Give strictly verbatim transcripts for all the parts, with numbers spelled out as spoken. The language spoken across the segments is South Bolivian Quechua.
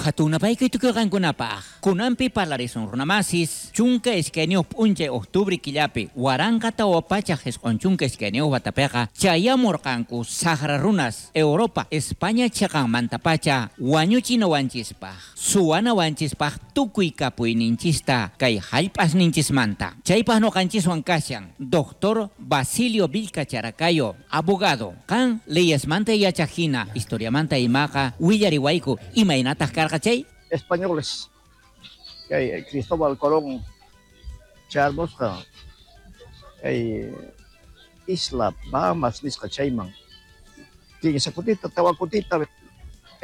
Hatun napaykuy tukuy qankunapaq. Kunanpi parlarisun runamasis chunka iskayniyuq p'unchay octubre killapi waranqa tawa pachak isq'un chunka iskayniyuq watapiqa chayamurqanku saqra runas Europa España chiqanmantapacha wañuchinawanchispaq suwanawanchispaq tukuy kapuyninchista kay hallp'asninchismanta. Chaypaq ñuqanchiswan kashan Doctor Basilio Vilca Characayo, abogado. Qan leyesmanta yachaq hina, historiamanta imaqa willariwayku imaynataq karqa chay? Españoles kay Cristóbal Colón chayarmusqa kay isla Bahamas nisqa chayman kinsa kutita tawa kutita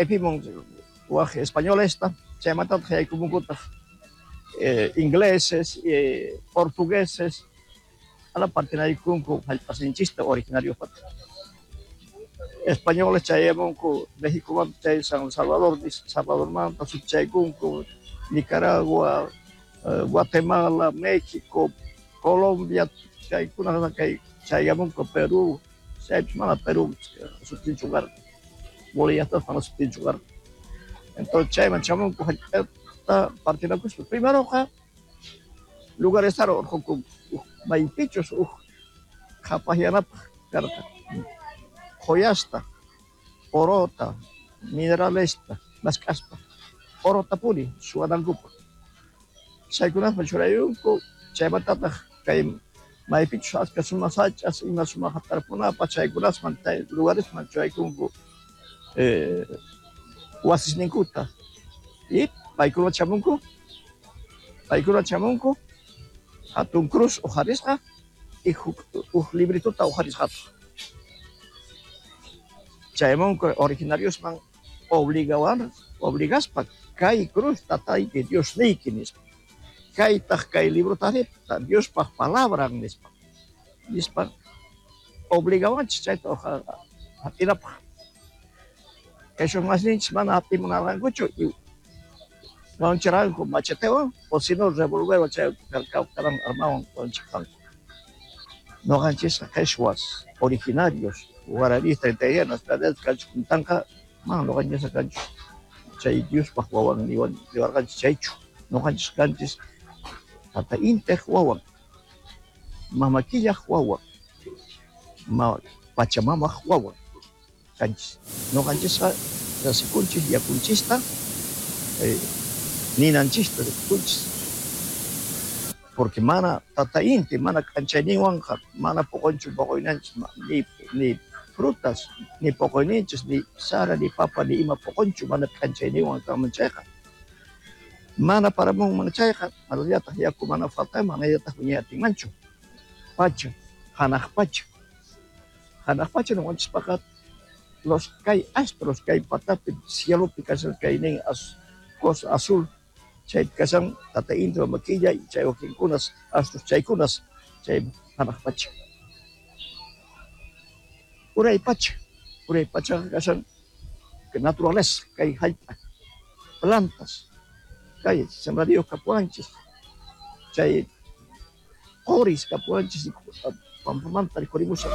epimun waj españolesta chaymantataq yaykumunkutaq eh, ingleses, eh, portugueses ala partinaykunku hallp'asninchista originariopata. Españoles chayamunku México chay San Salvador, Salvadormanta chaykunku Nicaragua, eh, Guatemala, México, Colombia, chaykuna kay chayamunku Perú, chaypis mana Perú sutinchu karqa, Boliviata mana sutinchu karqa. Entonces chayman chamunku hallp'ata partinakuspa. Primeroqa lugares urqunku maypichus uj qhapaqyanapaq karqa joyasta, orota, mineralesta mask'aspa orotapuni suwanankupaq. Chaykunasman churayunku chaymantataq kay maypichus achka sumaq sach'as ima sumaq tarpunapaq chaykunasman chay lugaresman churaykunku eh, wasisninkuta y paykuna chamunku paykuna chamunku hatun cruz uqharisqa y huk uj librituta uqharisqataq. Chayamunku originariosman obligawan obligaspa kay cruz tatayki Diosniyki nispa kaytaq kay librotari Diospaq palabran nispa nispa obligawanchis chayta hap'inapaq. Kay masninchis mana hap'imunarqankuchu y wañuchirqanku machetewan o si no revolverwan chay karan armawan wañuchirqanku. Noqanchisqa qheshwas originarios guaraníes treinta y dos kanchis kuntanqa mana noqanchisqa kanchu chay Diospaq wawan niwarqanchis chaychu. Noqanchis kanchis tata Intiq wawan, mama Killaq wawan, ma Pachamamaq wawan kanchis. Noqanchisqa rasikunchis yakunchista eh, ninanchista rikunchis porque mana tata Inti mana k'anchayninwanqa mana poqonchu poqoynanchis ni ni frutas ni poqoyninchis ni sara ni papa ni ima poqonchu mana k'anchayninwan kanman chayqa. Mana paramunman chayqa manallataq yaku mana faltanman manallataq wiñay atinmanchu. Pacha, hanaq pacha. Hanaq pacha ñuqanchispaqqa los kay astros kay patapi cielopi kashan kaynin az, cosa azul chaypi kashan tata Inti mama Killa chay wakinkunas astros chaykunas chay hanaq pacha. Uray pacha, uray pachaqa kashan naturaleza kay hallp'a plantas kay sembradíos kapuwanchis chay qoris kapuwanchis pampamanta rikhurimushan.